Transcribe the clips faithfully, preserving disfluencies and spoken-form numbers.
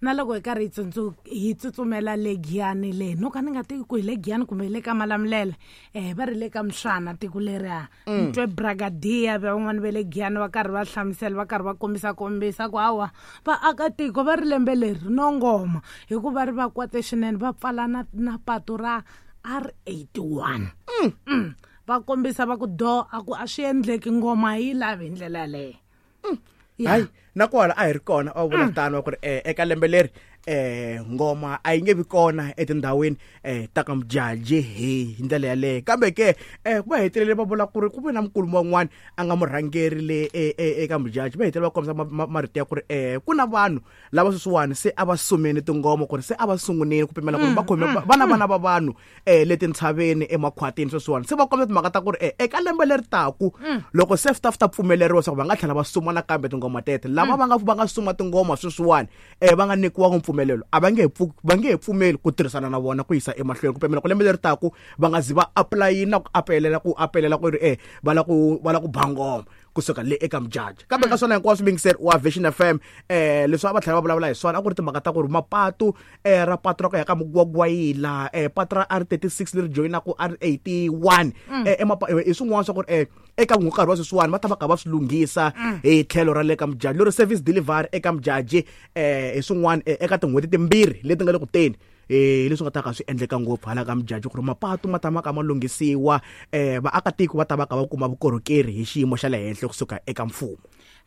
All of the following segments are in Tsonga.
Na loko hi karhi hi tsundzu hi tsutsumela le Giyani le no ka ni nga tivi ku hi le Giyani kumbe hi le ka Malamulele eh va ri le ka Mswana tiko leriya ni twe brigadier van'wani va le Giyani va karhi va hlamusela va karhi va kombisa kombisa ku hawa vaakatiko va ri lembe leri no ngoma hikuva ri va kwate swinene va pfala na na patu ra R eighty-one. Mm. Va kombisa va ku do a ku a swi endleki ngoma yi lavi hi ndlela yaleyo. Hayi na kwala a hi ri kona a vula tano ku ri eka lembe leri eh ngoma a yi nge vi kona etindhawini eh ta ka Mjaji hi ndlela yaleyo kambe ke eh ku va hetelele va vula ku ri ku ve na mukulumo wan'wana a nga murhangeri le eka Mjaji va hetelele va kombisa marito ya ku ri eh ku na vanhu lava sweswiwani se a va sumeni tingoma ku ri se a va sungunile ku pimela ku ri va khome vana vana va vanhu eh le tintshaveni emakhwatini sweswiwani se va kombisa timhaka ta ku ri eh eka lembe leri taku loko se swi ta ta pfumeleriwa leswaku va nga tlhela va suma nakambe tingoma tete lava va nga va nga suma tingoma sweswiwani eh va nga nyikiwa mpfumelelo a va nge va nge pfumeli ku tirhisana na vona ku yisa emahlweni ku pimela ku lembe leri taku va nga zi va apply na ku apelela ku apelela ku ri eh va la ku va la ku ba ngoma kusuka le eka Mjaji kambe ka swona hinkwaswo mingiseri wa Vision F M eh leswi a va tlhela va vulavula hi swona a ku ri timhaka ta ku ri mapatu eh ra patu ra ku ya ka Mugwagwayila eh patu ra R thirty-six leri joyinaka R eighty-one eh i swin'wana swa ku ri eh eka nkarhi wa sweswiwani va ta va ka va swi lunghisa hi tlhelo ra le ka Mjaji lero service delivery eka Mjaji eh hi swin'wana eka tin'hweti timbirhi leti nga le ku teni eh leswi nga ta ka swi endleka ngopfu hala ka Mjaji ku ri mapatu ma ta ma ka ma lunghisiwa eh vaakatiko va ta va ka va kuma vukorhokeri hi xiyimo xa le henhla kusuka eka mfumo.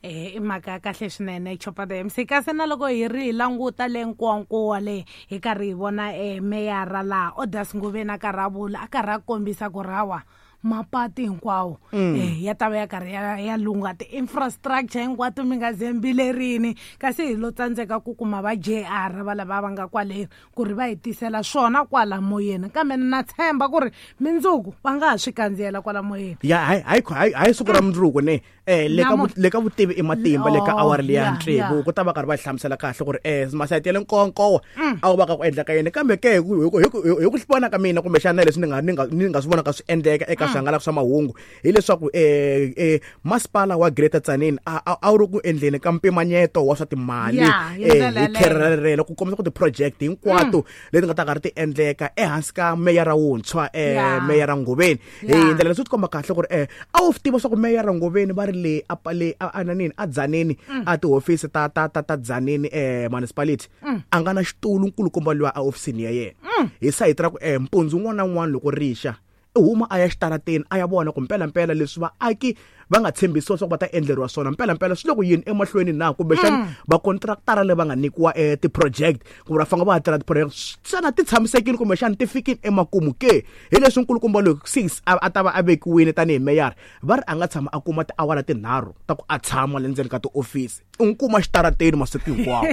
Eh i mhaka ya kahle swinene Chopa the M C kasi na loko hi ri hi languta le Nkowankowa le hi karhi hi vona eh meyara laha Odas Ngobeni a karhi a vula a karhi a kombisa ku rawa mapati hinkwawo eh ya ta va ya karhi ya ya lungha ti-infrastructure hinkwato mi nga zembilerini kasi hi lo tsandzeka ku kuma va J R va lava va nga kwale ku ri va hi tisela swona kwala moyeni kambe na tshemba ku ri mindzuku va nga ha swi kandziyela kwala moyeni ya hayi hayi hayi siku ra mundzuku ne eh le ka le ka vutivi i matimba le ka awara leya ntsevu ku ta va karhi va hlamusela kahle ku ri eh masayiti ya le Nkowankowa a wu va ka ku endleka yini kambe ke hi ku hi ku vona ka mina kumbexana leswi ni nga ni nga ni nga swi vona ka swi endleka eka swihangalasa swa mahungu hileswaku eh eh masipala wa Greater Tzaneen a a wu ri ku endleni ka mpimanyeto wa swa timali eh hi khererelo ku kombisa ku ti-project hinkwato leti nga ta karhi ti endleka ehansi ka meyara wuntshwa eh meyara Ngobeni hi ndlela leswi tikomba kahle ku ri eh a wu tiva swa ku meyara Ngobeni va ri le a le a nanini a Tzaneen a tihofisi ta ta ta ta Tzaneen eh municipality a nga na xitulu nkulukumba loyi a ofisini ya yena hi sayiti ra ku eh mpundzu un'wana na un'wana loko rixa huma a ya xitarateni a ya vona ku mpela mpela leswi vaaki va nga tshembisiwa swa ku va ta endleriwa swona mpela mpela swi le ku yini emahlweni na kumbexana va contractara le va nga nyikiwa eh ti-project ku va fanga va tirha ti-project xana ti tshamisekile kumbexana ti fikile emakumu ke hi leswi nkulukumba loyi six a ta va a vekiwile tanihi meyara va ri a nga tshama a kuma tiawara tinharhu ta ku a tshama le ndzeni ka tiofisi u n'wi kuma xitarateni masiku hinkwawo.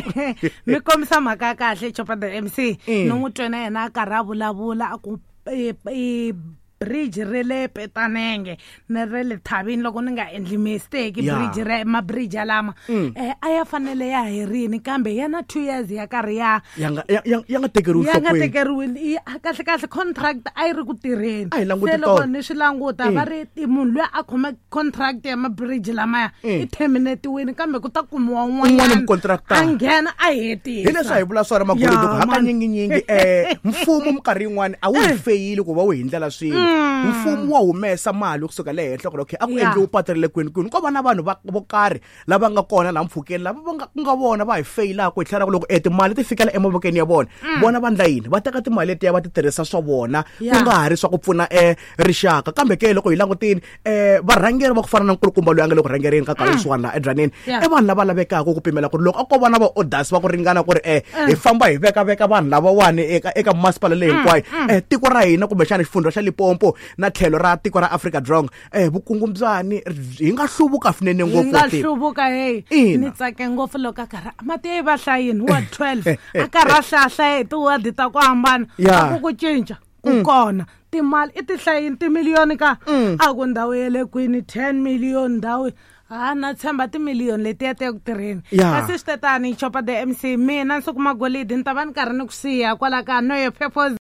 Mi kombisa mhaka ya kahle Chopa the M C ni n'wi twe na yena a karhi a vulavula a ku bridge re le Petanenge na re le Thabini loko ni nga endli mistake bridge re ma bridge lama eh a ya fanele ya herini kambe ya na two years ya karhi ya ya nga ya nga tekeriwi ya nga tekeriwi kahle kahle contract a yi ri ku tirheni se loko ni swi languta va ri munhu loyi a khome contract ya ma bridge lamaya i terminatiwini kambe ku ta kumiwa un'wanyana a nghena a hetisa hi leswi a hi vula swona magolidi ku hakanyinginyingi eh mfumo minkarhi yin'wana a wu hi feyili ku va wu hi ndlela swilo mfumo wa humesa mali kusuka le henhla ku ri okay a ku endliwi patu ra le kwini kwini ko va na vanhu va vo karhi lava nga kona laha mpfhukeni lava va nga ku nga vona va hi feyilaka hi tlhela loko e timali ti fikela emavokweni ya vona vona va ndla yini va teka timali letiya va ti tirhisa swa vona ku nga ha ri swa ku pfuna e rixaka kambe ke loko hi langutini eh varhangeri va ku fana na nkulukumba loyi a nga le ku rhangereni ka nkarhi swin'wana laha eDzaneen i vanhu lava lavekaka ku pimela ku ri loko a ko va na va orders va ku ringana ku ri eh hi famba hi veka veka vanhu lavawani eka eka masipala leyi hinkwayo eh tiko ra hina kumbexana xifundza xa Limpopo na tlhelo ra tiko ra Afrika Dzonga eh vukungundzwani hi nga hluvuka swinene ngopfu hi nga hluvuka hey ni tsake ngopfu loko a karhi mati yi va hlayini wa twelve a karhi a hlaya hi tiwadi ta ku hambana ku ku cinca ku kona timali i tihlayini timiliyoni ka a ku ndhawu ya le kwini ten million ndhawu ha na tshemba timiliyoni letiya ta ku tirheni kasi swi tetani Chopa the M C mina Nsuku Magolidi ni ta va ni karhi ni ku siya kwala ka No Your Purpose.